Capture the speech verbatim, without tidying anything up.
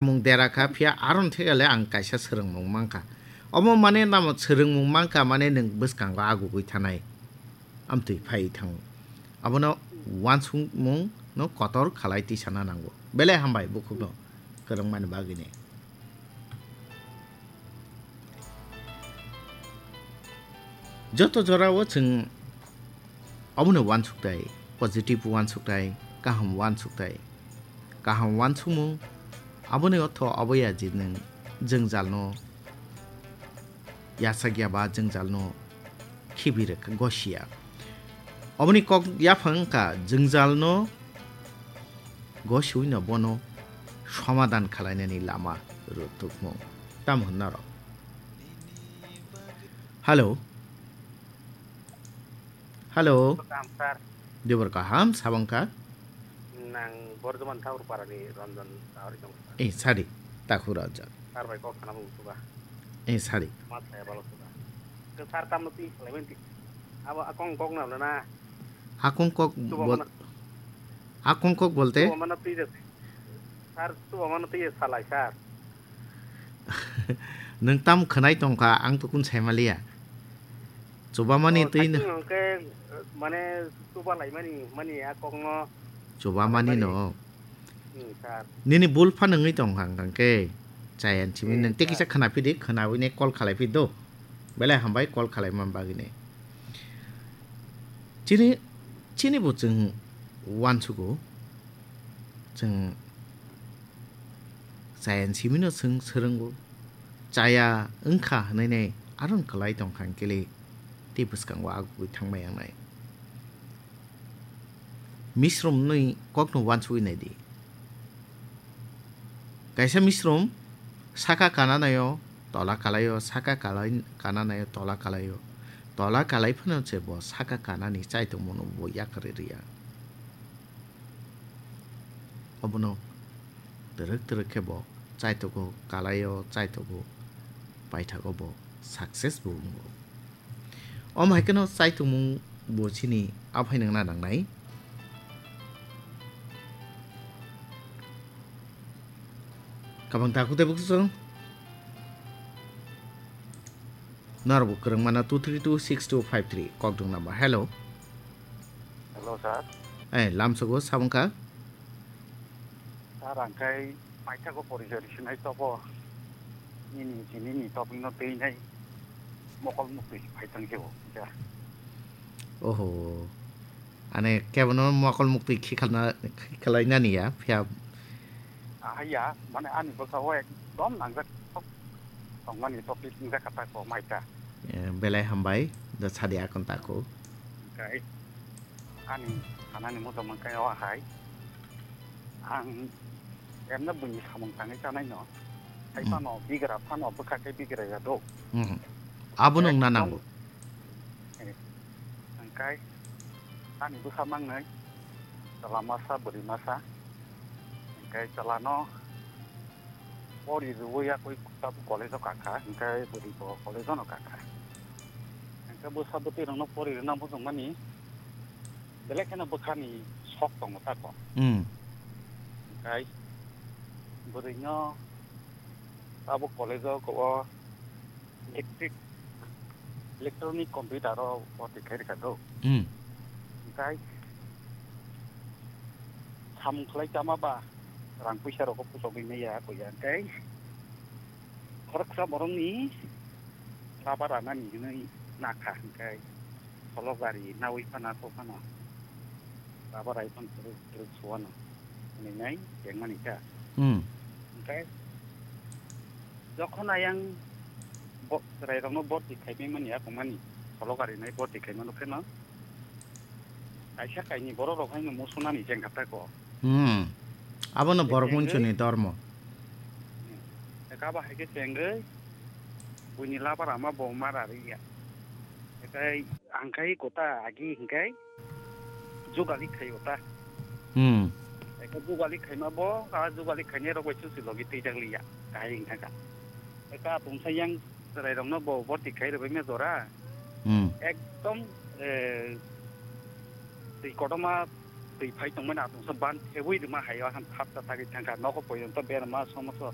mung dera kha, phiya aron thegale ang kaisa swrwngmung mankha. Omo mane namo swrwngmung mankha, mane nwng bwskango agugwi thanai. Amtwi phai thango. Abono wansukmung no kotor khalai tisana nango. Belai hambai bukhukno kwrwngmani bagwini. Joto jorao chwng obono wansuktai, positive wansuktai, kaham wansuktai. Kaham wansukmung aboni ortho obo ya je nwng jwngjalno yachakya ba jwngjalno khibi rwkha, gosiya. Oboni kok yaphang wngkha jwngjalno gosiwino bono somadan khalainani lama rwtukmung. Tamo hwnna rw? Hello. Hello. Kaham, sir. Dibor kaham, sabang kha? Nang Borjoman Thakur Parani Ranjan Sahari tong, sir. Eh, sadi, Takur Ranjan. Sir bai kok sana bung suga. Eh, sadi. Mas saya balok suga. Ke sir tam nuti, lemen ti. Abo akong kok na na. Akong kok Tuba bol-, mana? Akong kok bolte? Tuba mana twi je. Sir, tuba mana twi je salai, sir. Nwng tam khwnai tongkha, ang to kun saimaliya. Chubamani Oh, twi no. Sakni hwnkhe, mane, chuba laimani, mani a kokno Chubamani laimani. No. Hmm, sir. Nini bul phan wngwi tongkha hwnkhe. Chayan simi Hmm, nwng tei kisa sir. Khwnaphidi, khwnawi ne call khalai phido. Belai hambai call khalai man bagwi ne. Chini, chini bo chwng uansugo. Chwng Chayan simino chwng swrwngo. Chaya wngkha hwnwi nai aron kwlai tongkha hwnkhe le tei bwskango agugwi thangmai wngnai. Misrumnwi kokno uansugwi naidi. Kaisa misrum saka kananaio tola kalaio, saka kalai-, kananaio tola kalaio. Tola kalai phano se bo saka kanani chaitongmano bo yakarwi rwya. Obono twrwk twrwk khe bo chaitogo, kalaio chaitogo, paithago bo success bo wngo. Omo hai kheno chaitongmung bo chini aphai nangna nangnai. Kabang takhuk tei bukhuk chwng. Norok bo kwrwng mano two three two six two five three kokdwng number. Hello. Hello, sir. Eh, lamsogo sabwngkha. Sir, ang khai paithago porijoy risinai tobo. Nini, nini topikno twi nai mokol muktwi phai thang khe bo, sir. Oho. Ane kebono mokol muktwi khikhalna, khikhalainani ya, phiya. Ahai ya, mane ani bwkha o ekdom nangjak tongmani topic wngkha kata ko maita. Eh, belai hambai, da sadi akon tako. Hwnkhe ani sanani muchung mankhe o hai. Ang emno buini samung tangwi chanai no. Hai Hmm. Phano bigra phano bwkha khe bigra ya do. Hmm. Abono wngna ekdom nango. Eh, hwnkhe ani bwkha mangnai chwla masa, bwrwi masa. Hwnkhe chwlano pori rwui yakui tabuk college-o kakha, hwnkhe bwrwi bo college-o no kakha. Hwnkhe bwsa bwtwi rokno pori rwna muchungmani belai kheno bwkhani sok tongo tako. Hmm. Hwnkhe bwrwino tabuk college-o o electric, electronic computer-o bwtwi khai rwkha do. Hmm. Hwnkhe samung khlai tama ba rang puisa rokbo puchogwi maya kuya hwnkhe khoroksa borokni laba ranani hinwi nakha hwnkhe solo gari nawi phano aswk phano laba rai phano kwrwk kwrwk suano hwnwi nai tengmani kha. Hmm. Hwnkhe jokhon ayang bo-, chwrairokno borti khaimani, akungmani solo gari nai borti khaimano pheno kaisa kainwi borok rok haino musunani chengkha tako. Hmm. Abono borok chengwi munsuni dormo. Hmm. Eka ba hai khe chengwi buini laba rama bo ma rariya. Ekai ang khai kota agi hingkai jugali khai ota. Hmm. Eka jugali khaima bo, a jugali khainai rok bai susi logi twijak liya. Kahai hingkha ka. Eka tungsa yang chwrairokno bo borti khai rwbaima jora. Hmm. Ekdom, eh, twi kotorma twi phai tongmani atungsa ban thebwi rwma hai o han thapsa tagwi thangkha. Nokho poito berma somoso